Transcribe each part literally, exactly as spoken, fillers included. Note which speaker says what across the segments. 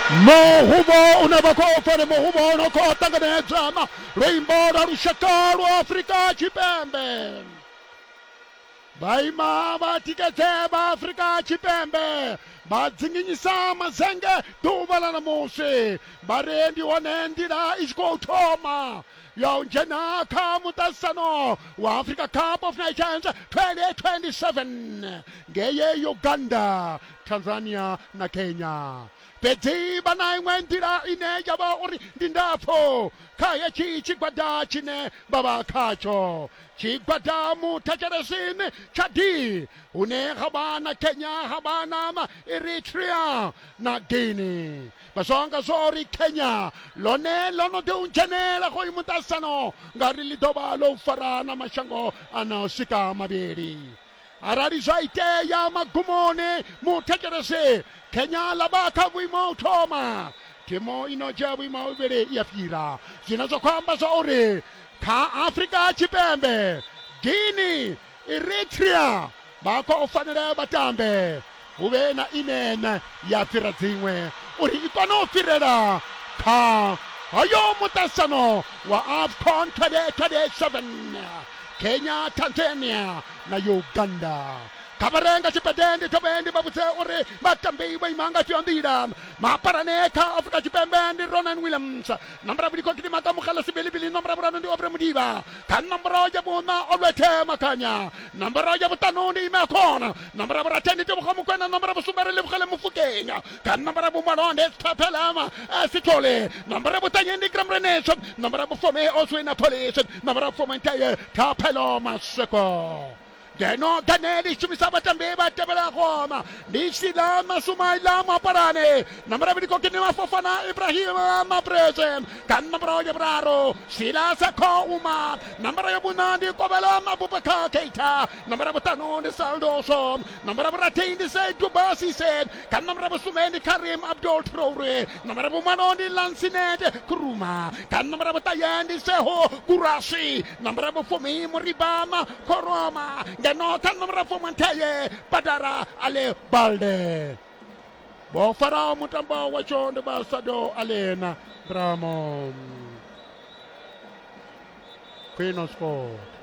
Speaker 1: Muhuvho une vha khou pfa ndi muhuvho no khou ṱanganedza luimbo lwa lushaka lwa Afrika Tshipembe. Vha ima vha tikedze vha Afrika Tshipembe, vha dzinginyisa mazenge ḓuvha ḽa ṋamusi, vha ri ndi hone nḓila i tshi khou thoma ya u dzhena kha muṱaṱisano wa Africa Cup of Nations twenty twenty-seven ngei Uganda, Tanzania na Kenya. Fhedzi vha na iṅwe nḓila ine ya vha uri ndi ndapfu kha hetshi tshigwada tshine vha vha khatsho, tshigwada muthetshelesini tsha D, hune ha vha na Kenya, ha vha na Eritrea na Guinea. Vha songa zwo uri Kenya ḽone ḽo no ḓi u dzhenela hoyu muṱaṱisano ngauri ḽi ḓo vha ḽo fara na mashango a no swika mavhili. Arali zwa itea magumoni muthetshelesi, Kenya ḽa vha kha vhuimo u thoma, thimu ino dzhia vhuimo ha vhuvhili ya fhira, zwine zwa khou amba zwa uri kha Afrika Tshipembe, Guinea, Eritrea vha khou fanela vha tambe, hu vhe na ine ya fhira dziṅwe uri i kone u fhirela kha hoyo muṱaṱisano wa AFCON twenty twenty-seven, Kenya, Tanzania na Uganda. Kha vha renga tshipede ndi thome ndi vha vhudze uri vhatambi vho ima nga ifhio nḓila. Maparane kha Afrika Tshipembe ndi Ronan Williams, nomboro vhili khou ka Mugala Sibelibili, nomboro vhuraru ndi Aubrey Mudiba, kha nomboro ya vhuṋa Olwethe Makhanya, nomboro ya vhuṱanu ndi Ime Khona, nomboro ya vhurathi ndi Tebogo Mokoena, nomboro ya vhusumbe Relebogile Mofokeng, kha nomboro ya vhumalo ndi Thapelama Sithole, nomboro ya vhuṱanye ndi Graham Reneso, nomboro ya vhufumi Oswin Police, nomboro ya vhufumi Thapelo Maseko. Ngeno Ganeli shumisa vhatambi vha tevhelaho ndi Sila Masumaila Maparane, nomboro ya vhili khou Fofana Ibrahim Mapreze, kha nomboro ya vhuraru Sila Sakho Uma, nomboro ya vhuṋa ndi Kovhela Abubakar Keita, nomboro ya vhuṱanu ndi Saldoso, nomboro ya vhurathi ndi Seydou Cissé, kha nomboro ya vhusumbe ndi Karim Abdul Traore, nomboro ya vhumalo ndi Lansinet Kuruma, kha nomboro ya vhuṱahe ndi Seho Kurasi, nomboro ya vhufumi Muribama Koroma, ngeno kha nomoro ya fuminthaye Badara Ale Balde. Vho faraho mutambo watsho ndi vha Sado Alena Bramo. Queen of Sport.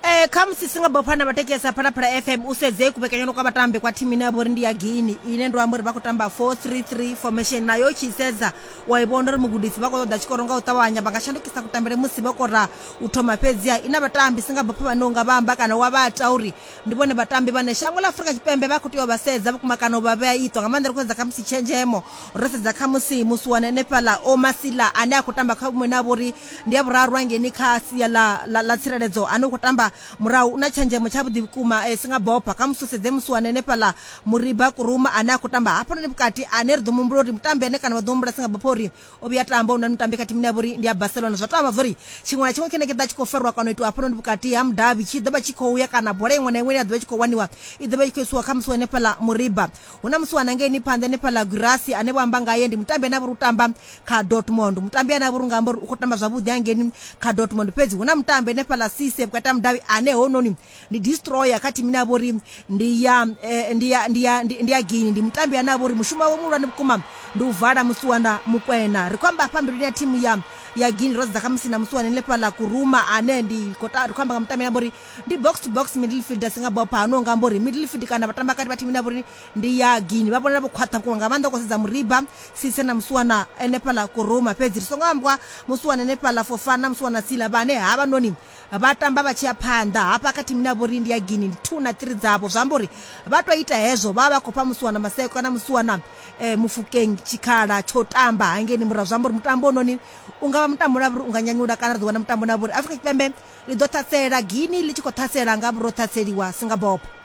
Speaker 2: Eh khamusi singa bophana vhathetshelesa Phalaphala F M u sedze kuvhekanyelo kwa vhatambi kwa thimu ine ya vha uri ndi ya Guinea, ine ndo amba uri vha khou tamba four three three formation, nayo u tshi sedza wa i vhona uri mugudisi vha khou ṱoḓa tshikoro nga u ṱavhanya, vha nga shandukisa kutambele musi vho kora u thoma. Fhedziha ina vhatambi singa bopha vhane unga vha amba kana wa vha ta uri ndi vhone vhatambi vhane shango ḽa Afrika Tshipembe vha khou tea u vha sedza vhukuma kana u vha vhea iṱo nga maanḓa. Ri khou sedza khamusi tshenzhemo, ro sedza khamusi musiwana henefhaḽa Omasila ane a khou tamba kha vhuṅwe na vha uri ndi ya vhuraru hangeini kha sia ḽa ḽa tsireledzo, ane u khou tamba murahu, u na tshenzhemo tshavhuḓi vhukuma eh, singa bopha. Khamusi u sedze musiwana henefhaḽa Muriba Kuruma ane a khou tamba hafhanoni vhukati, ane ri ḓo muhumbula uri mutambi ane kana vha ḓo humbula singa bopha uri o vhuya tamba una mutambi kha thimu ine ya vha uri ndi ya Barcelona. Zwa to amba uri tshiṅwe na tshiṅwe tshine tshi ḓa tshi khou farwa kana u itiwa hafhanoni vhukati ha mudavhi tshi ḓo vha tshi khou ya, kana bola iṅwe na iṅwe ine ya ḓo vha tshi khou waniwa i ḓo vha i khou isiwa kha musiwana henefhaḽa Muriba. Hu na musiwana ngeini phanḓa henefhaḽa Gurasi ane vho amba ngaye ndi mutambi ane a vha uri u tamba kha Dortmund, mutambi ane a vha uri nga amba uri u khou tamba zwavhuḓi hangeini kha Dortmund. Fhedzi hu na mutambi henefhaḽa Cisse vhukati ha mudavhi ane hononi ndi destroyer kha thimu ine ya vha uri ndi ya ndi ya ndi ya ndi ya Guinea, ndi mutambi ane a vha uri mushumo wawe muhulwane vhukuma ndi u vala musiwana Mukwena. Ri khou amba hafha mbiluni ya thimu ya ya Guinea, ro sedza khamusi na musiwana henefhaḽa Kuruma ane ndi khou ri khou amba nga mutambi ane a vha uri ndi box to box midfielder singa bopha, ano nga amba uri midfield kana vhatamba kati vha thimu ine ya vha uri ndi ya Guinea vha vhonala vho khwaṱha vhukuma nga maanḓa khou sedza Muriba Cisse na musiwana henefhaḽa Kuruma. Fhedzi ri songo ambwa musiwana henefhaḽa Fofana, musiwana Sila vhane havhanoni vha tamba vha tshi ya phanḓa hafha kha thimu ine ya vha uri ndi ya Guinea, ndi two na three dzavho, zwi amba uri vha to ita hezwo vha vha khou fha musiwana Maseko kana musiwana eh, Mofokeng tshikhala tsho tamba hangeini murahu. Zwi amba uri mutambo ononi u nga vha mutambo une uri u nga nyanyula kana ri ḓo wana mutambo une uri Afrika Tshipembe ḽi ḓo ṱhasela Guinea ḽi tshi khou ṱhasela nga vhuro ṱhaseliwa singa bopha.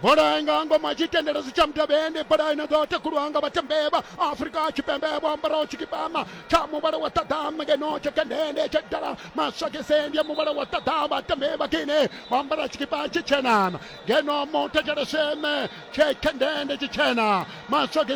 Speaker 1: Bola nga ngoma tshitenderedzo tsha mudavhi, bola ino ḓo takulwa nga vhatambi vha Afrika Tshipembe vho ambaraho tshikipama tsha muvhala wa ṱaḓa, ngeno tshekendende tsha dala maswakese ndi ya muvhala wa ṱaḓa. Vhatambi vha Guinea vho ambara tshikipa tshitshena, ngeno muthetsheleseme tshekendende tshitshena maswakese.